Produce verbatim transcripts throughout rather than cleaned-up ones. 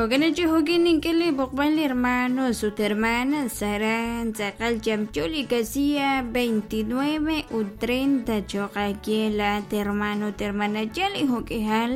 Jo'kan chi jo'kin nink'e b'oqb'al hermanos ut hermanas aran tz'aqal yamyo li casilla veintinueve ut treinta cho'q aawe laat hermano ut hermana yal li jo'k'ihal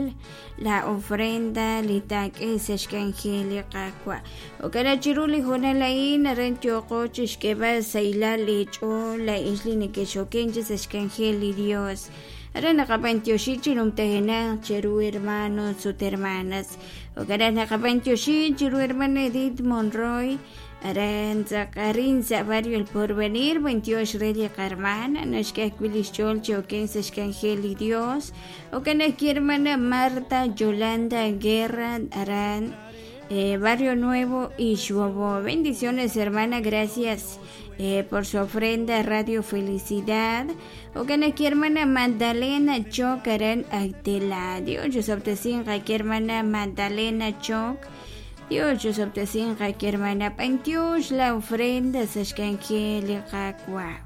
la ofrenda li taak'e sa' xk'anjel li Qaawa'. Jo'kan chiru li hoonal a'in aran yooqo chixk'eeb'al sahilal li ch'ool laa'ex li nekexoken chi sa' xk'anjel li Dios. Aran naqab'antioxi chi numtajenaq cheru hermanos ut hermanas. Jo'kan naqab'antioxi chiru hermana Edith Monroy aran tz'aqarin sa' barrio El Porvenir b'antiox re li qarmana naxk'e ajwi' li xch'ool chi oken sa' xk'anjel li Dios. Jo'kan ajwi' hermana Marta Yolanda Guerra aran eh, Barrio Nuevo Ixbobo. Bendiciones hermana, gracias eh, por su ofrenda Radio Felicidad. Jo'kan ajwi' hermana Magdalena Choc aran Actela. Dios chosob'tesinq aquí hermana Magdalena Choc. Dios chosob'tesinq aquí hermana B'antiox la ofrenda sa' xk'anjel li Qaawa'.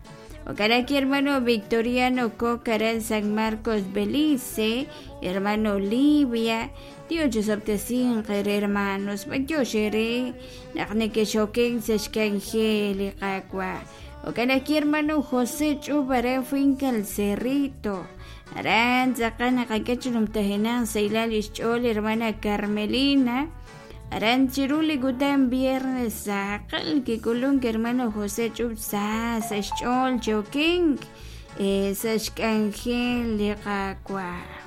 Jo'kan aquí hermano Victoriano Coc aran San Marcos Belice, hermano Olivia. Dios chosob'tesinq re hermanos, b'antiox ere naq nekexoken sa' xk'anjel li Qaawa'. Jo'kan aquí hermano José Ch'ub aran Finca El Cerrito. Aran tz'aqal naqak'e chi numtajenaq sahilal li xch'ool hermana Carmelina. Aran chiru li kutan viernes saqal kik'ulunk hermano José Ch'ub sa sa' xch'ool chokenk eh, sa' xk'anjel li Qaawa'.